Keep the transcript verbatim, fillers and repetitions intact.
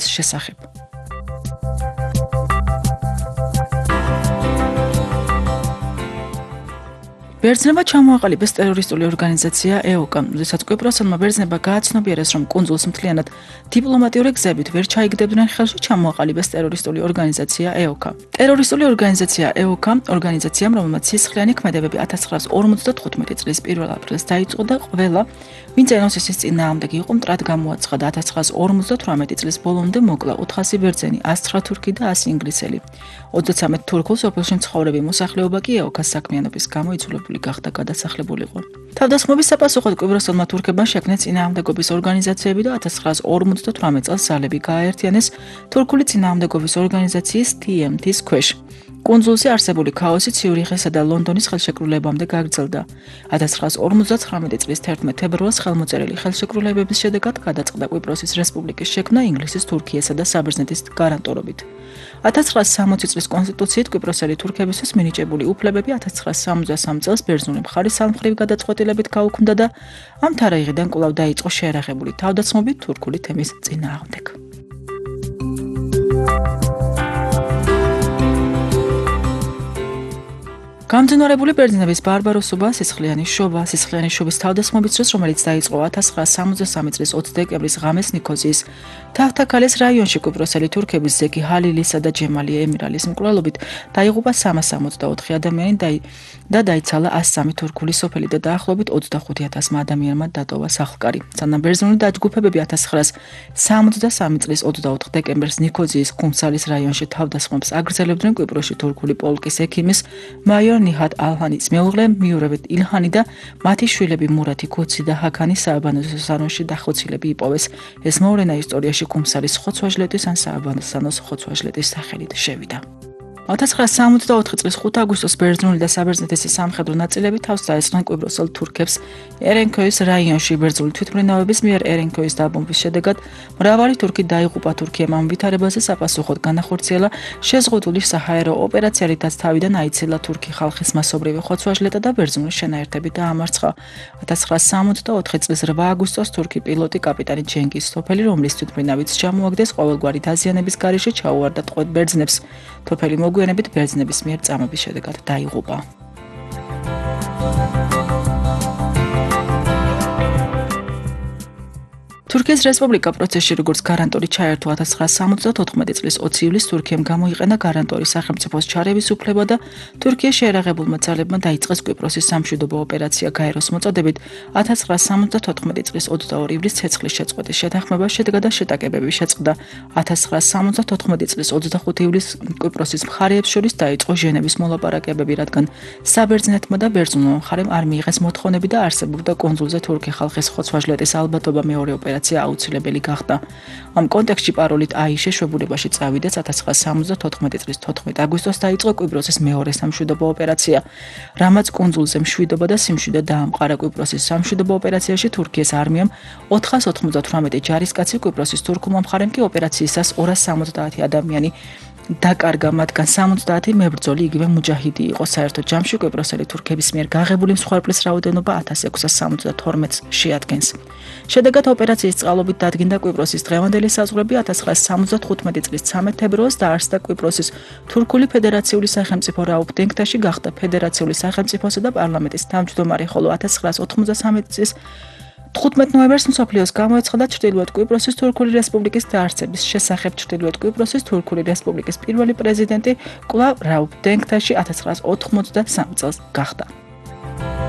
შესახებ. ბერძნებმა ჩამოაყალიბეს ტერორისტული ორგანიზაცია ე-ო-კა, როდესაც კვიპროსელმა ბერძნებმა გააცნობიერეს, რომ კუნძულს მთლიანად დიპლომატიური გზებით ვერ ჩაიგდებდნენ ხელში, ჩამოაყალიბეს ტერორისტული ორგანიზაცია ე-ო-კა. ტერორისტული ორგანიზაცია ე-ო-კა ორგანიზაციამ, რომელმაც სისხლიანი ქმედებები ათას ცხრაას ორმოცდათხუთმეტი წლის პირველ აპრილს დაიწყო და ყველა, ვინც ენოსისის წინააღმდეგ იყო, მტრად გამოაცხადა. ათას ცხრაას ორმოცდათვრამეტი წლის ბოლომდე მოკლა ოთხასი ბერძენი, ას ცხრა თურქი და ასი ინგლისელი. ოცდაცამეტ თურქულ სოფელში მცხოვრები მოსახლეობა კი ე-ო-კას საქმიანობის გამო იძულებული გახდა გადასახლებულიყო. თავდასხმების საპასუხოდ კვიპროსელმა თურქებმა შექმნეს წინააღმდეგობის ორგანიზაციები და ათას ცხრაას ორმოცდათვრამეტ წელს ძალები გააერთიანეს თურქული წინააღმდეგობის ორგანიზაციის თი ემ თის ქვეშ. კუნძულზე არსებული ქაოსი ციურიხისა და ლონდონის ხელშეკრულებამდე გაგრძელდა. ათას ცხრაას ორმოცდათვრამეტი წლის თერთმეტ თებერვალს ხელმოწერილი ხელშეკრულებების შედეგად გადაწყდა კვიპროსის რესპუბლიკის შექმნა ინგლისის, თურქიასა და საბერძნეთის გარანტირებით. ათას ცხრაას სამოცი წლის კონსტიტუციით კვიპროსელი თურქებისთვის მინიჭებული უფლებები ათას ცხრაას სამოცდასამი წელს ბერძნული მხარის სამხრივ გადაწყვეტილებით გაუქმდა და ამ თარიღიდან კვლავ დაიწყო შეერაღებული თავდასხმები თურქული თემის წინააღმდეგ. გამძინვარებული ბერძნების ბარბაროსობა, სისხლიანი შობა, სისხლიანი შობის თავდასხმობის დროს, რომელიც დაიწყო ათას ცხრაას სამოცდასამი წლის ოცი დეკემბრის ღამეს ნიქოზიის თახთაქალის რაიონში კვიპროსელი თურქების ზეგი ჰალილისა და ჯემალი ემირალის მკვლელობით დაიღუპა სამას სამოცდაოთხი ადამიანი და დაიცალა ას სამი თურქული სოფელი და დაახლოებით ოცდახუთი ათასმა ადამიანმა დატოვა სახლკარი. სანამ ბერძნული დაჯგუფებები ათას ცხრაას სამოცდასამი წლის ოცდაოთხ დეკემბერს ნიქოზიის ხუმსალის რაიონში თავდასხმებს აგრძელებდნენ, კვიპროსში თურქული პოლკის ექიმის მაიორ ნიჰად ალჰანის მეუღლე მიურევეთ ილჰანი და მათი შვილები მურათი ქოცი და ჰაქანი სააბანოს სანოში დახოცილები იპოვეს. ეს მოვლენა ისტორიაში ხუმსალის ხოცვაჟლეტის ან სააბანოს ხოცვაჟლეტის სახელით შევიდა. ათას ცხრაას სამოცდაოთხი წლის ხუთი აგვისტოს ბერძნული და საბერძნეთის სამხედრო ნაწილები თავს დაესხნენ კვიპროსელ თურქებს ერენქოის რაიონში. ბერძნული თვითმფრინავების მიერ ერენქოის დაბომბვის შედეგად მრავალი თურქი დაიღუპა. თურქიამ ამ ვითარებაზე საპასუხოდ განახორციელა შეზღუდული საჰაერო ოპერაცია, რითაც თავიდან აიცილა თურქი ხალხის მასობრივი ხოცვაჟლეტა და ბერძნული შენაერთები დაამარცხა. ათას ცხრაას სამოცდაოთხი წლის რვა აგვისტოს თურქი პილოტი კაპიტანი ჯენგიზ სოფელი, რომლის თვითმფრინავიც ჩამოაგდეს ყოველგვარი დაზიანების გარეშე, ჩაუვარდა ტყვედ ბერძნებს. სოფელი მოგვიანებით ბერძნების მიერ წამების შედეგად დაიღუპა. თურქეთის რესპუბლიკა პროცესში როგორც გარანტორი ჩაერთო ათას ცხრაას სამოცდათოთხმეტი წლის ოცი ივლისს თურქიამ გამოიყენა გარანტორის სახელმწიფოს ჩარევის უფლება და თურქიის შეერაღებულმა ძალებმა დაიწყეს კვიპროსის სამშვიდობო ოპერაცია გაეროს მოწოდებით. ათას ცხრაას სამოცდათოთხმეტი წლის ოცდაორი ივლისს ცეცხლის შეწყვეტის შეთანხმება შედგა და შეტაკებები შეწყდა. ათას ცხრაას სამოცდათოთხმეტი წლის ოცდახუთი ივლისს კვიპროსის მხარეებს შორის დაიწყო ჟენევის მოლაპარაკებები, რადგან საბერძნეთმა და ბერძნულმა მხარემ არ მიიღეს მოთხოვნები და არსებობდა კუნძულზე თურქი ხალხის ხოცვაჟლეტის ალბათობა მეორე ოპერაცია აუცილებელი გახდა. ამ კონტექსტში პაროლით აი შეშვებულებაში წავიდეს ათას ცხრაას სამოცდათოთხმეტი წლის თოთხმეტ აგვისტოს დაიწყო კვიპროსის მეორე სამშვიდობო ოპერაცია, რამაც კუნძულზე მშვიდობა და სიმშვიდე დაამყარა. კვიპროსის სამშვიდობო ოპერაციაში თურქიის არმიამ ოთხას ოცდათვრამეტი ჯარისკაცი, კვიპროსის თურქულმა მხარემ კი ოპერაციისას ორას სამოცდაათი ადამიანი დაკარგა, მათგან სამოცდაათი მებრძოლი, იგივე მუჯაჰიდი იყო. საერთო ჯამში კვიპროსელი თურქების მიერ გაღებული მსხვერპლის რაოდენობა ათას ექვსას სამოცდათორმეტს შეადგენს. შედეგად ოპერაციის წყალობით დადგინდა კვიპროსის დღევანდელი საზღვრები. ათას ცხრაას სამოცდათხუთმეტი წლის ცამეტ თებერვალს დაარსდა კვიპროსის თურქული ფედერაციული სახელმწიფო რაუფ დენქტაში, გახდა ფედერაციული სახელმწიფოსა და პარლამენტის თავმჯდომარე, ხოლო ათას ცხრაას ოთხმოცდასამი წლის თხუთმეტ ნოემბერს მსოფლიოს გამოეცხადა ჩრდილოეთ კვიპროსის თურქული რესპუბლიკის დაარსების შესახებ. ჩრდილოეთ კვიპროსის თურქული რესპუბლიკის პირველი პრეზიდენტი კვლავ რაუფ დენქტაში ათას ცხრაას ოთხმოცდასამი წელს გახდა.